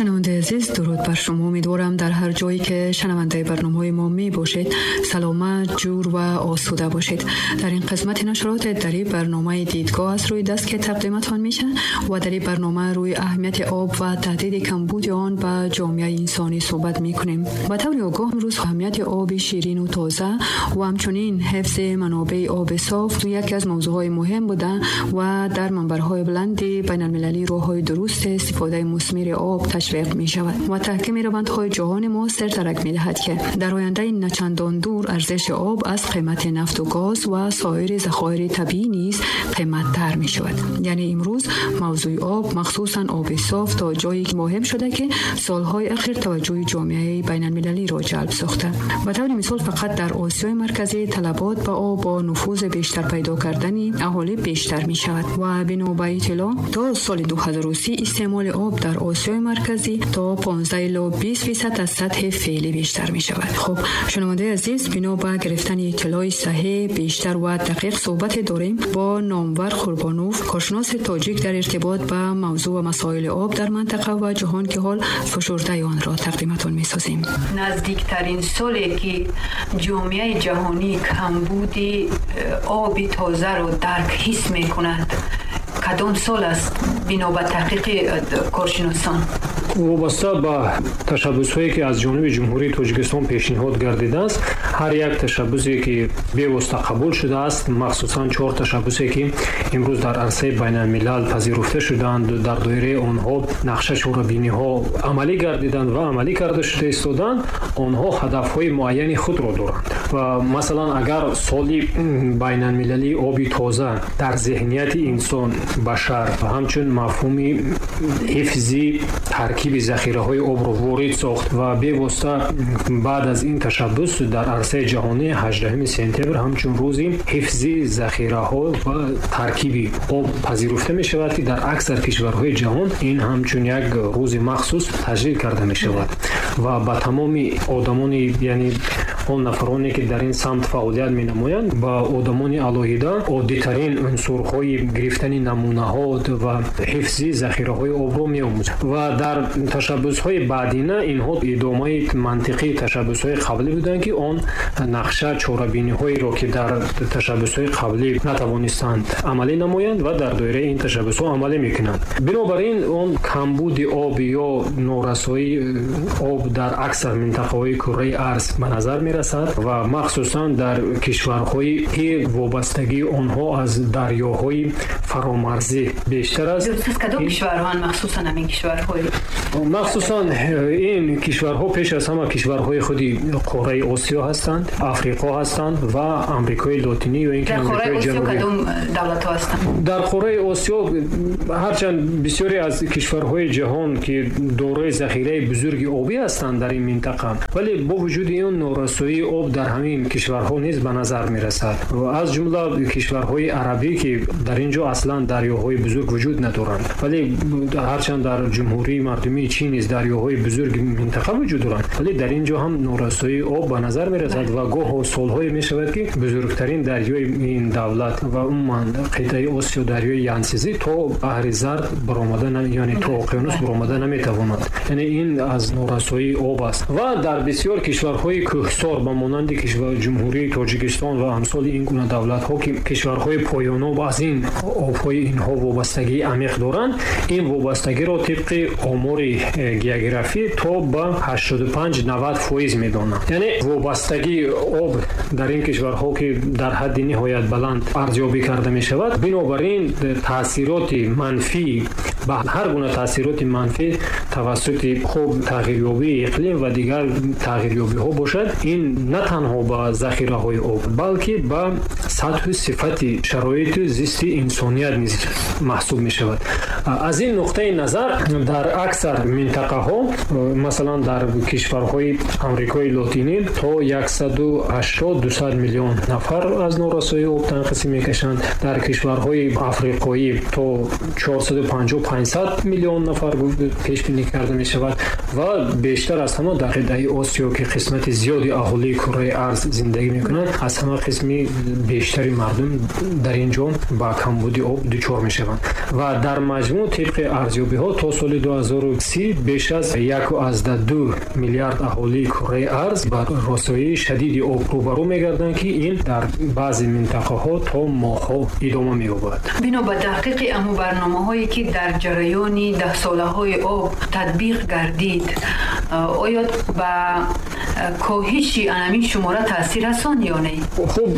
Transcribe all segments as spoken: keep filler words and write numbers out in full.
شنونده عزیز، درود بر شما. امیدوارم در هر جایی که شنونده برنامه‌های ما می باشید سلامت، جور و آسوده باشید. در این قسمت نشرات در این برنامه دیدگاه از روی دست که تقدیمتان میشه و در این برنامه روی اهمیت آب و تهدید کمبود آن به جامعه انسانی صحبت میکنیم. به طور آگاه امروز اهمیت آب شیرین و تازه و همچنین حفظ منابع آب صاف یکی از موضوعهای مهم بوده و در منبرهای بلند بین المللی راه‌های درست استفاده مثمر آب تشویق می شود و تحکیم روندهای جهان معاصر درک می دهد که در آینده نچندان دور ارزش آب از قیمت نفت و گاز و سایر ذخایر طبیعی نیز قیمت تر می شود. یعنی امروز موضوع آب، مخصوصا آب صاف، تا جایی مهم شده که سالهای اخیر توجه جامعه بین المللی را جلب ساخته. به طور مثال فقط در آسیای مرکزی طلبات به آب با نفوذ بیشتر پیدا کردن اهالی بیشتر می شود و بنا به اطلاع تا سال دو هزار و سی استعمال آب در آسیای مرکزی تا پانزده الی بیست درصد از سطح فعلی بیشتر می شود. خب شنونده عزیز، بنا به گرفتن اطلاع صحیح، بیشتر و دقیق صحبت داریم با نامور قربانوف، کارشناس تاجیک در ارتباط به موضوع و مسائل آب در منطقه و جهان که حال فشرده آن را تقدیمتان می سازیم. نزدیکترین سالی که جامعه جهانی کمبود آب تازه را درک حس می کند کدام سال است بنا به تحقیق کارشناسان؟ وابسته به تشبث‌هایی که از جانب جمهوری تاجیکستان پیشنهاد گردیده است، هر یک تشبثی که بی‌واسطه قبول شده است، مخصوصا چهار تشبثی که امروز در عرصه بین الملل پذیرفته شدند و در دایره آنها نقشه چاره‌بینی‌ها عملی گردیدند و عملی کرده شده ایستادند، آنها هدف‌های معین خود را دارند. و مثلا اگر سال بین المللی آب تازه در ذهنیت انسان بشر همچون مفهوم حفظ ترکیب ذخیره‌های آب را وارد ساخت و بی‌واسطه بعد از این تشبث در عرصه جهانی هجدهم سپتامبر همچون روزی حفظ ذخیره‌ها و ترکیب آب پذیرفته می شود که در اکثر کشورهای جهان این همچون یک روز مخصوص تجلیل کرده می شود و با تمام آدمان، یعنی آن نفرانی که در این سمت فعالیت می نمایند، با آدمان علاهیده عادی‌ترین عنصرهای گرفتن نمونه‌ها و حفظ ذخیره‌های آب را می آموزند. و در تشبث‌های بعدینه اینها ادامه منطقی تشبث‌های قبلی بودند که آن نقشه چاره‌بینی‌هایی را که در تشبث‌های قبلی نتوانستند عملی نمایند و در دایره این تشبث‌ها عملی می‌کنند. بنابراین آن کمبود آب یا نارسایی آب در اکثر منطقه‌های کره ارض به نظر می‌رسد و مخصوصاً در کشورهایی که وابستگی آنها از دریاهای فرامرزی بیشتر است. از کدام کشورها مخصوصاً همین کشورهای؟ مخصوصاً این کشورها پیش از همه کشورهای خودی قاره آسیا هستند، آفریقا هستند و آمریکای لاتینی یا اینکه آمریکای جنوبی. در قاره آسیا کدام دولت‌ها هستند؟ در قاره آسیا هرچند بسیاری از کشورهای جهان که دارای ذخیره بزرگ آبی هستند در این منطقه، ولی با وجود این نارسایی آب در همین کشورها نیز به نظر می‌رسد و از جمله کشورهای عربی که در اینجا اصلا دریاهای بزرگ وجود ندارند، ولی هرچند در جمهوری مردمی چین نیز دریاهای بزرگ منطقه وجود دارند، ولی در اینجا هم نارسایی آب به نظر می‌رسد و گاه سال‌های می‌شود که بزرگترین دریای این دولت و عموما قطعه آسیا دریای ینگتسه تا بحر زرد برآمده، یعنی تا اقیانوس برآمده نمی‌تواند. یعنی این از نارسایی آب است. و در بسیار کشورهای کوهسار به مانند کشور جمهوری تاجیکستان و امثال این گونه دولت‌ها که کشورهای پایان‌آب از این آب‌های اینها وابستگی عمیق دارند، این وابستگی را طبق آمار گیوگرافی تا به هشتاد و پنج نود فیصد می‌دانند. یعنی وابستگی آب در این کشورها که در حد نهایت بلند ارزیابی کرده می شود، بنابراین تاثیرات منفی به هر گونه تاثیرات منفی توسط خوب تغییریابی اقلیم و دیگر تغییریابی ها باشد، این نه تنها به ذخیره های آب بلکه به سطح صفت شرایط زیست انسانیت نیز محسوب می شود. از این نقطه نظر در اکثر منطقه ها، مثلا در کشورهای آمریکای لاتینی تا صد و هشتاد دویست میلیون نفر از نارسایی آب تنقصی میکشند، در کشورهای افریقایی تا چهارصد و پنجاه پانصد میلیون نفر پیش بینی کرده می شود و بیشتر از همه در قطعه آسیا که قسمت زیادی اهالی کره ارض زندگی میکنند، از همه قسمی بیشتری مردم در اینجا با کمبود آب دچار می شوند و در مجموع Маҷмӯъ тибқи арзёбиҳо то соли ду ҳазору си беш аз як аз ду миллиард аҳолии кураи арз ба расоии шадиди об рӯбарӯ мегарданд, ки ин дар баъзе минтақаҳо то моҳҳо идома меёбад. Бино ба таҳқиқи аму барномаҳое ки дар ҷараёни даҳсолаҳои об татбиқ гардид, оё ба коҳиши анамин шумора таъсир расон ё не? Хуб,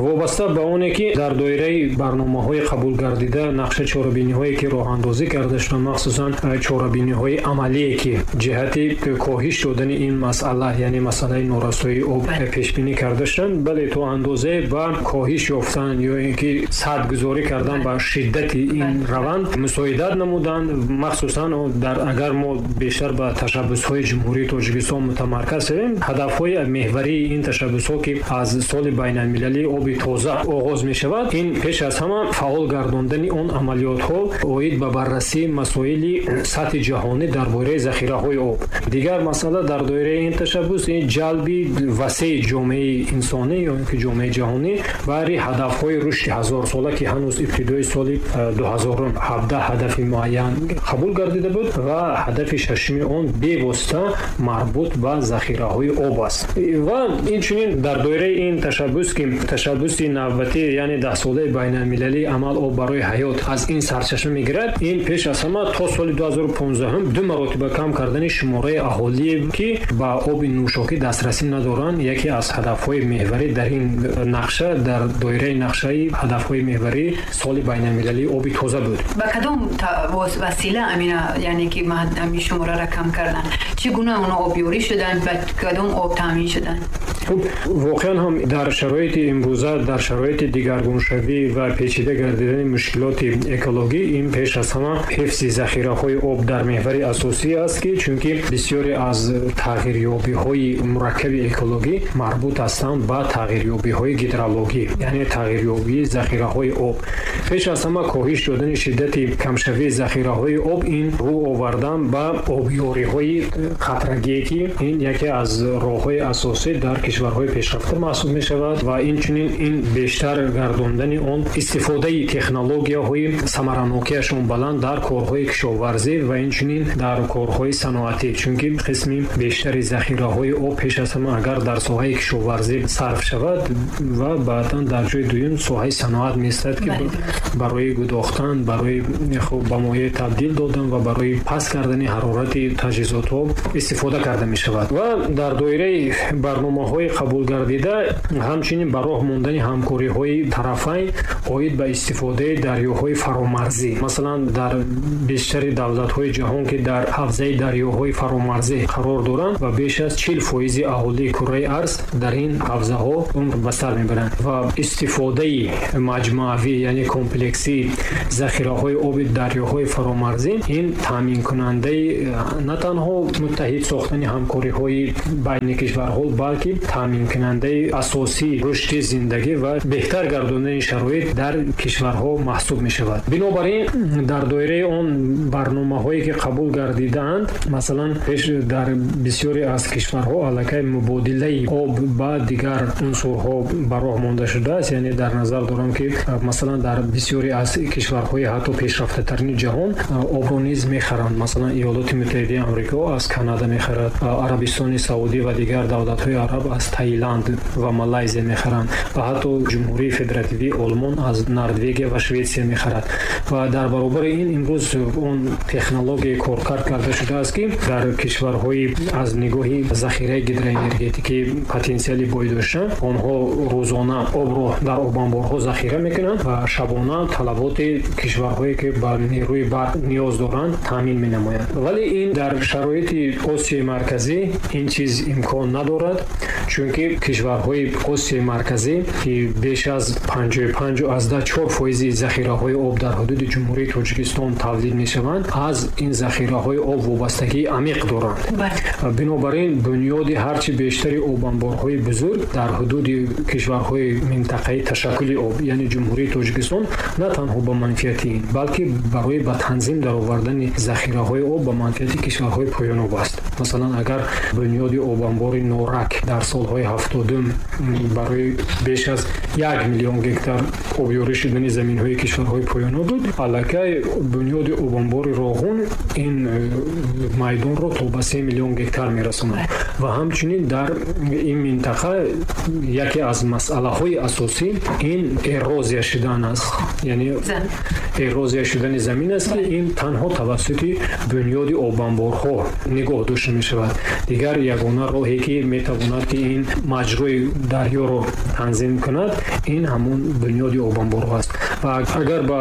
вобаста ба оне ки дар доираи барномаҳои қабулгардида нақша чорабиниҳое ки роҳандозӣ карда шуданд, махсусан чорабиниҳои амалие ки ҷиҳати коҳиш додани ин масъала, яъне масъалаи норасоии об пешбинӣ карда шуданд, бале, то андозае ба коҳиш ёфтан ё ин ки садгузорӣ кардан ба шиддати ин раванд мусоидат намуданд. Махсусан дар агар мо бештар ба ташаббусҳои Ҷумҳурии Тоҷикистон мутамарказ шавем, ҳадафҳои меҳварии ин ташаббусҳо ки аз соли байналмилалии оби тоза оғоз мешавад, ин пеш аз ҳама фаъол гардондани он амалиётҳо оид ба баррасии масоили сатҳи ҷаҳонӣ дар бораи захираҳои об. Дигар масъала дар доираи ин ташаббус ин ҷалби васеи ҷомеаи инсонӣ ё ин ки ҷомеаи ҷаҳонӣ барои ҳадафҳои рушди ҳазорсола ки ҳанӯз ибтидои соли ду ҳазору ҳабдаҳ ҳадафи муайян қабул гардида буд ва ҳадафи шашуми он бевосита марбут ба захираҳои об аст. Ва инчунин дар доираи ин ташаббус ки ташаббуси навбатӣ, яъне даҳсолаи байналмилалии амал об барои ҳаёт аз ин сарчашма мегирад, ин пеш аз ҳама то соли ду ҳазору понздаҳум ду маротиба кам кардани шумораи аҳолие ки ба оби нӯшокӣ дастрасӣ надоранд, яке аз ҳадафҳои меҳварӣ дар ин нақша, дар доираи нақшаи ҳадафҳои меҳварии соли байналмилалии оби тоза буд. Ба кадом васила амина, яъне ки ҳамин шумораро кам кардан, чӣ гуна онҳо обёрӣ шуданд, ба кадом об таъмин шуданд? Хуб, воқеан ҳам дар шароити имрӯза, дар шароити дигаргуншавӣ ва печида гардидани мушкилоти экологӣ, ин пеш аз ҳама ҳифзи захираҳои об дар меҳвари асосӣ аст, ки чунки бисёре аз тағйирёбиҳои мураккаби экологӣ марбут ҳастанд ба тағйирёбиҳои гидрологӣ, яъне тағйирёбии захираҳои об. Пеш аз ҳама коҳиш додани шиддати камшавии захираҳои об, ин рӯ овардан ба обёриҳои қатрагие ки ин яке аз роҳҳои асосӣ дар кишварҳои пешрафта маҳсуб мешавад ва инчунин ин бештар гардондани он истифодаи технологияҳои самаранокиашон баланд дар корҳои кишоварзӣ ва инчунин дар корҳои саноатӣ, чунки қисми бештари захираҳои об пеш аз ҳама агар дар соҳаи кишоварзӣ сарф шавад ва баъдан дар ҷои дуюм соҳаи саноат меистад, ки барои гудохтан, барои хуб ба моеъ табдил додан ва барои паст кардани ҳарорати таҷҳизотҳо истифода карда мешавад. Ва дар доираи барномаҳои қабулгардида ҳамчунин ба роҳ мондани ҳамкориҳои тарафайн оид ба истифодаи дарёҳои фаромарзӣ. Масалан, дар бештари давлатҳои ҷаҳон ки дар ҳавзаи дарёҳои фаромарзӣ қарор доранд ва беш аз чил фоизи аҳолии кураи арз дар ин ҳавзаҳо умр ба сар мебаранд ва истифодаи маҷмӯавӣ, яъне комплексии захираҳои оби дарёҳои фаромарзӣ ин таъминкунандаи на танҳо муттаҳид сохтани ҳамкориҳои байни кишварҳо, балки таъминкунандаи асосии рушди зиндагӣ ва беҳтар гардондани шароит дар кишварҳо маҳсуб мешавад. Бинобар ин дар доираи он барномаҳое ки қабул гардидаанд, масалан пеш дар бисёре аз кишварҳо аллакай мубодилаи об ба дигар унсурҳо ба роҳ монда шудааст. Яъне дар назар дорам ки масалан дар бисёре аз кишварҳои ҳатто пешрафтатарини ҷаҳон обро низ мехаранд. Масалан Иёлоти Муттаҳидаи Амрико аз Канада мехарад, Арабистони Саудӣ ва дигар давлатҳои араб аз Таиланд ва Малайзия мехаранд ва ҳатто Ҷумҳурии Федеративии Олмон аз Норвегия ва Шветсия мехарад. Ва дар баробари ин имрӯз он технологияи коркард карда шудааст, ки дар кишварҳои аз нигоҳи захираи гидроэнергетикӣ потенсиали бой дошта, онҳо рӯзона обро дар обанборҳо захира мекунанд ва шабона талаботи кишварҳое ки ба нерӯи барқ ниёз доранд таъмин менамоянд. Вале ин дар шароити Осиёи Марказӣ ин чиз имкон надорад, чунки кишварҳои Осиёи Марказӣ ки беш аз панҷоҳу панҷ аз даҳ чор фоизи захираҳои об дар ҳудуди Ҷумҳурии Тоҷикистон тавлид мешаванд, аз ин захираҳои об вобастагии амиқ доранд. Бинобар ин бунёди ҳарчи бештари обанборҳои бузург дар ҳудуди кишварҳои минтақаи ташаккули об, яъне Ҷумҳурии Тоҷикистон, на танҳо ба манфиати ин, балки барои ба танзим даровардани захираҳои об ба манфиати кишварҳои поёноб аст. Масалан, агар бунёди обанбори Норак дар сол солҳои ҳафтодум барои беш аз як миллион гектар обёрӣ шудани заминҳои кишварҳои поёна буд, аллакай бунёди обанбори Роғун ин майдонро то ба се миллион гектар мерасонад. Ва ҳамчунин дар ин минтақа яке аз масъалаҳои асосӣ ин эрозия шудан аст, яъне эрозия шудани замин аст, ки ин танҳо тавассути бунёди обанборҳо нигоҳ дошта мешавад. Дигар ягона роҳе ки метавонад ки ин маҷрои дарёро танзим кунад, ин ҳамон бунёди обанборҳо аст. Ва агар ба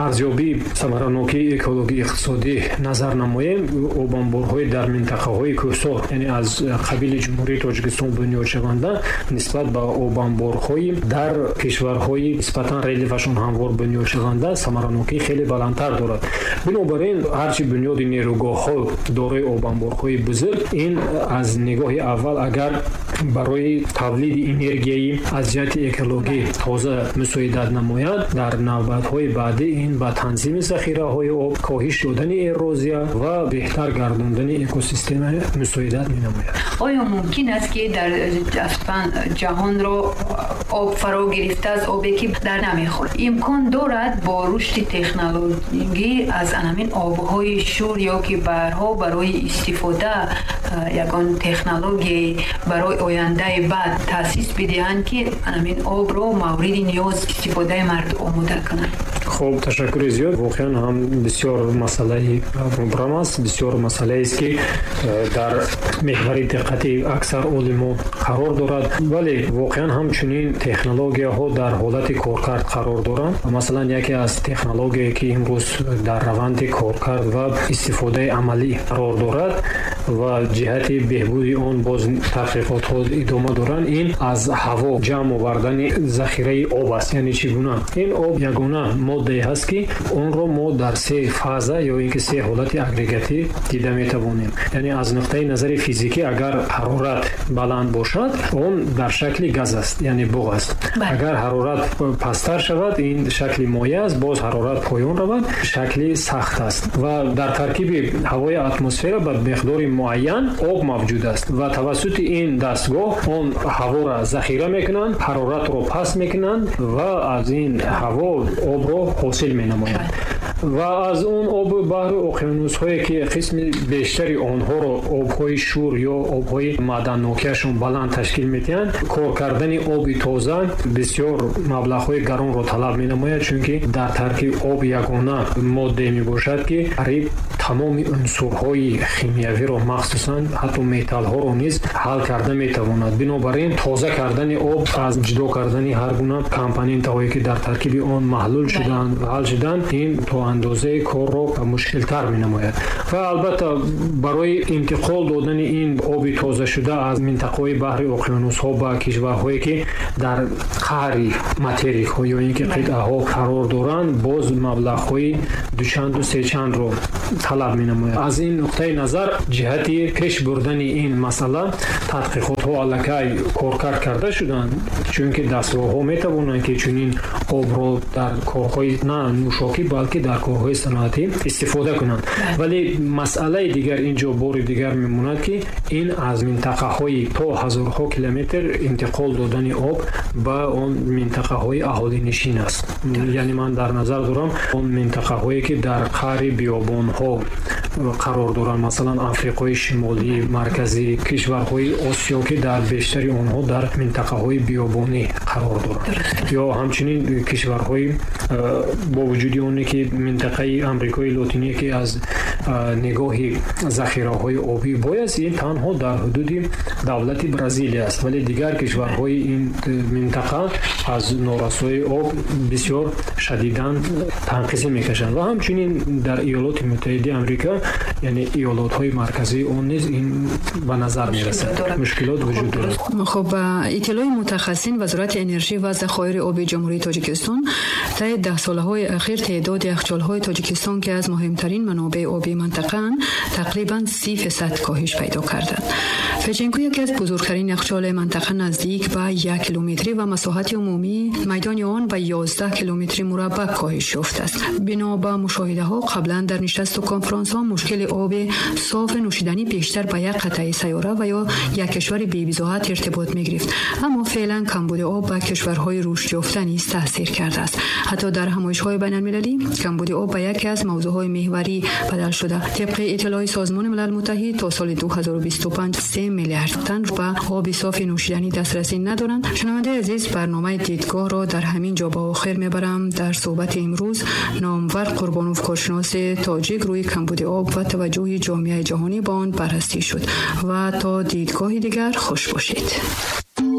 арзёбии самаранокии экологии иқтисодӣ назар намоем, обанборҳои дар минтақаҳои кӯҳсор, яъне аз қабили Ҷумҳурии Тоҷикистон бунёд шаванда, нисбат ба обанборҳои дар кишварҳои нисбатан релефашон ҳамвор бунёд шаванда, самаранокии хеле баландтар дорад. Бинобар ин ҳарчи бунёди нерӯгоҳҳо дорои обанборҳои бузург, ин аз нигоҳи аввал агар барои тавлиди энергияи аз ҷиҳати экологӣ тоза мусоидат намояд, дар навбатҳои баъдӣ ин ба танзими захираҳои об, коҳиш додани эрозия ва беҳтар гардондани экосистема мусоидат менамояд. Оё мумкин аст ки дар ҷаҳонро об фаро гирифта аз обе ки дар намехӯрд? Имкон дорад бо рушди технологӣ аз ҳамин обҳои шур ё ки баҳрҳо барои истифода ягон технологияи барои ояндаи баъд таъсис бидиҳанд, ки ҳамин обро мавриди ниёз истифодаи мардум омода кунанд? Хуб, ташаккури зиёд. Воқеан ҳам бисёр масъалаи мубрам аст, бисёр масъалаест ки дар меҳвари диққати аксар олимо қарор дорад. Вале воқеан ҳам чунин технологияҳо дар ҳолати коркард қарор доранд. Масалан, яке аз технологияе ки имрӯз дар раванди коркард ва истифодаи амалӣ қарор дорад ва ҷиҳати беҳбуди он боз таҳқиқотҳо идома доранд, ин аз ҳаво ҷамъ овардани захираи об аст. Яъне чӣ гуна? Ин об ягона моддае ҳаст ки онро мо дар се фаза ё ин ки се ҳолати агрегатӣ дида метавонем. Яъне аз нуқтаи назари физикӣ агар ҳарорат баланд бошад, он дар шакли газ аст, яъне буғ аст. Агар ҳарорат пасттар шавад, ин шакли моеъ аст, боз ҳарорат поён равад, шакли сахт аст. Ва дар таркиби ҳавои атмосфера ба миқдори муайян об мавҷуд аст ва тавассути ин дастгоҳ он ҳаворо захира мекунанд, ҳароратро паст мекунанд ва аз ин ҳаво обро ҳосил менамоянд. Ва аз он оби баҳру уқёнусҳое ки қисми бештари онҳоро обҳои шур ё обҳои маъданнокиашон баланд ташкил медиҳанд, кор кардани оби тоза бисёр маблағҳои гаронро талаб менамояд, чунки дар таркиби об ягона моддае мебошад ки қариб тамоми унсурҳои химиявиро, махсусан ҳатто металлҳоро низ ҳал карда метавонад. Бинобар ин тоза кардани об аз ҷудо кардани ҳар гуна компонентҳое ки дар таркиби он маҳлул шудаанд ва ҳал шудаанд, ин то андозаи корро мушкилтар менамояд. Ва албатта барои интиқол додани ин оби тоза шуда аз минтақаҳои баҳри уқёнусҳо ба кишварҳое ки дар қаъри материкҳо ё ин ки қитъаҳо қарор доранд, боз маблағҳои дучанду сечандро талаб менамояд. Аз ин нуқтаи назар ҷиҳати пеш бурдани ин масъала тадқиқотҳо аллакай коркард карда шуданд, чунки дастгоҳҳо метавонанд ки чунин обро дар корҳои на нӯшокӣ, балки дар корҳои саноатӣ истифода кунанд. Вале масъалаи дигар инҷо бори дигар мемонад ки ин аз минтақаҳои то ҳазорҳо километр интиқол додани об ба он минтақаҳои аҳолинишин аст. Яъне ман дар назар дорам он минтақаҳое ки дар қаъри биёбонҳо қарор доранд, масалан Африқои Шимолӣ, Марказӣ, кишварҳои Осиё ки дар бештари онҳо дар минтақаҳои биёбонӣ қарор доранд, ё ҳамчунин кишварҳои бо вуҷуди оне ки минтақаи Амрикои Лотинӣ ки аз нигоҳи захираҳои обӣ бой аст, ин танҳо дар ҳудуди давлати Бразилия аст, вале дигар кишварҳои ин минтақа аз норасоии об бисёр шадидан танқисӣ мекашанд. Ва ҳамчунин дар Иёлоти Муттаҳидаи Амрико, яъне иёлотҳои марказии он низ ин ба назар мерасад, мушкилот вуҷуд дорад. Хуб, иттилои мутахассисин Вазорати энержӣ ва захоири оби Ҷумҳурии Тоҷикистон طی ده سالهای اخیر تعداد یخچال‌های تاجیکستان که از مهمترین منابع آبی منطقه تقریباً سی فیصد کاهش پیدا کردند. فچنکو یکی از بزرگترین یخچال منطقه نزدیک به یک کیلومتری و مساحت عمومی میدان آن به یازده کیلومتر مربع کاهش یافته است. بنا به مشاهده ها قبلا در نشست و کنفرانس ها مشکل آب صاف نوشیدنی بیشتر به یک قطعه سیاره و یا یک کشور بی‌بضاعت ارتباط می‌گرفت، اما فعلا کمبود آب به کشورهای رشد یافته نیز تاثیر کرده است. حتی در همایش‌های بین‌المللی کمبود آب به یکی از موضوعهای محوری بدل شده. طبق اطلاع سازمان ملل متحد تا سال دو هزار و بیست و پنج سه میلیارد تن به آب صاف نوشیدنی دسترسی ندارند. شنونده عزیز، برنامه دیدگاه را در همین جا به آخر میبرم. در صحبت امروز نامور قربانوف، کارشناس تاجیک، روی کمبود آب و توجه جامعه جهانی به آن بررسی شد. و تا دیدگاه دیگر خوش باشید.